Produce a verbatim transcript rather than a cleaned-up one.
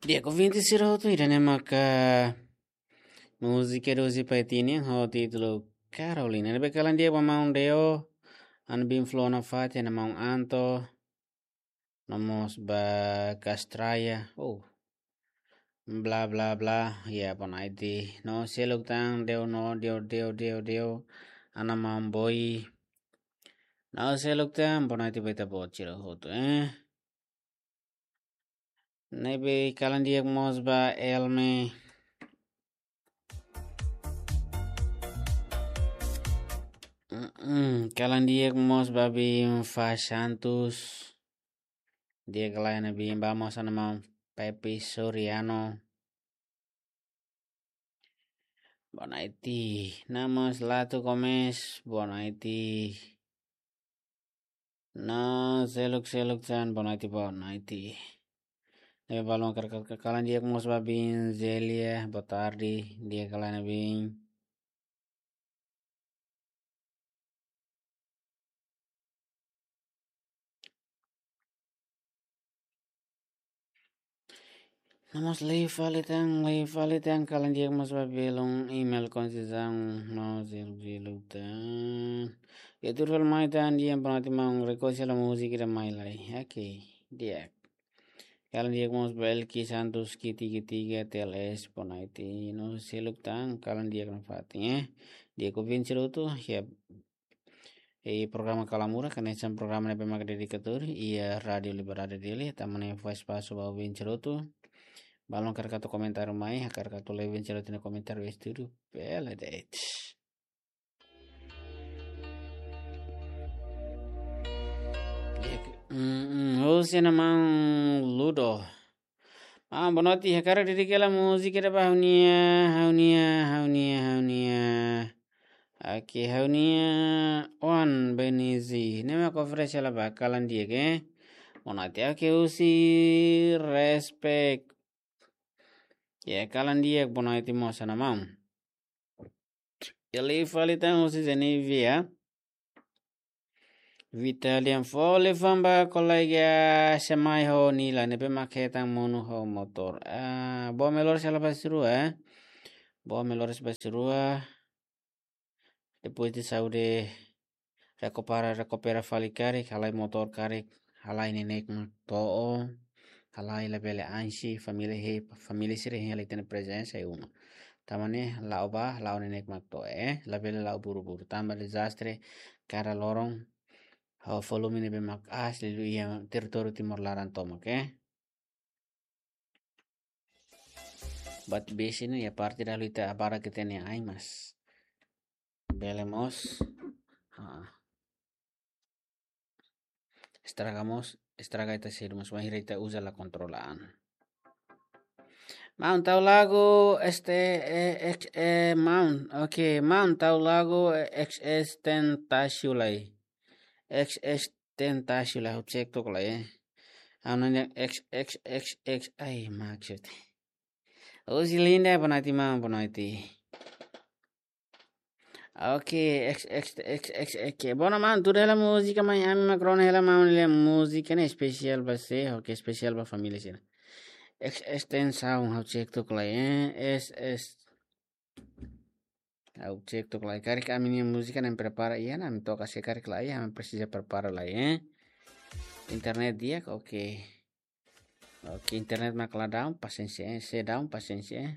Di'ak, ouvinte sira hotu, ida-ne'e maka múzika Rosi Paitini ho títulu Carolina. Ne'ebé kalan di'ak ba maun Deo, Ana Bin Flona Fati, Ana Maun Anto, no mós ba Kastraya. Oh. Bla bla bla. Ya, bonaiti. No seluk tan Deo no Deo Deo Deo Deo. Ana Maun Boi. No seluk tan, bonaiti ba ita-boot sira hotu, eh. Ne'ebé kalan di'ak mós ba Elme. Mm-mm, kalan di'ak mós ba Bim Fa Santos. Di'ak ka lae Ana Bim, ba mós Ana Maun Pepi Soriano. Bonaiti. Namas Latu Gomes, bonaiti. No seluk seluk tan, bonaiti, bonaiti. Ne'ebé balun kar-, kar-, kalan di'ak mós ba Bim Zelia, boa tarde, di'ak ka lae Ana Bim. Namas lei fali tan, lei fali tan, kalan di'ak mós ba belun email konsizang no zelu zelu tan. Ya tur fali mai tan, di'ak, bonaiti maun, request hela múzika ida mai lai. Oke, di'ak. Kalan di'ak mós ba Elki Santos, ki tiga tiga T L S, bonaiti, no seluk tan, kalan di'ak nafatin, eh. Di'ak ouvinte sira hotu, ya. E programa Kalamura, kanesan programa ne'ebé maka dedikatóriu iha Rádiu Liberdade Dili, tanba ne'e fó espasu ba ouvinte sira hotu. Balun hakarak atu komentáriu mai, hakarak atu lee ouvinte sira hotu nia komentáriu iha estúdiu, bele de'it. Mm, mm, hosi Ana Maun Ludo. Ah, boa noite, hakarak dedika hela múzika ida ba ha'u-nia, ha'u-nia, ha'u-nia, ha'u-nia. Oke, ha'u-nia oan Benizi. Ne'e mak oferese hela ba, kalan di'ak, eh. Boa noite, oke, husi Respect. Ya, kalan di'ak, boa noite mós Ana Maun. Lei fali tan husi Zenivia. Vitalian, fó liafuan ba kolega Semai ho Nila, ne'ebé mak hetan monu ho motór. Ah, boa melhoras hela ba sira rua, eh. Boa melhoras ba sira rua. Depois de saúde rekupera, rekupera fali karik, halai motór karik, halai neineik mak to'o, halai labele ansi, família he, família sira hein hela ita-nia prezensa iha uma. Tanba ne'e la'o bá, la'o neineik mak to'o, eh, labele la'o buru-buru. Tanba dezastre kada loron, ho volume ne'ebé mak aas liuliu iha territóriu Timor laran tomak, eh. Buat besik ne'e iha parte dalu ita abara ke tene ai mas. Bele mós. Ha. Estraga mós, estraga ita sedu mas, bainhira ita uza la kontrola an. Maun, tau lagu este, eh, ex, eh, Maun. Oke, Maun, tau lagu, eh, X X Tentacion lai. X X Tentacion lai, ha'u cek tok lai, eh. Anu ne X X X X, ai, maksud. Husi Linda, boa noite, maun, boa noite. Oke, X X X X, oke. Boa noite, maun, tuur hela múzika mai, ami mak rona hela, maun, nia múzika ne'e espesiál ba sé, oke, espesiál ba família sira. X X Tentacion, ha'u cek tok lai, eh. S S Ha'u cek tok lai, karik ami-nia múzika ne'e prepara iha, ami toka se karik lai, ami presiza prepara lai, eh. Internet di'ak, oke. Oke, internet mak la down, pasiénsia, eh. Se down, pasiénsia, eh.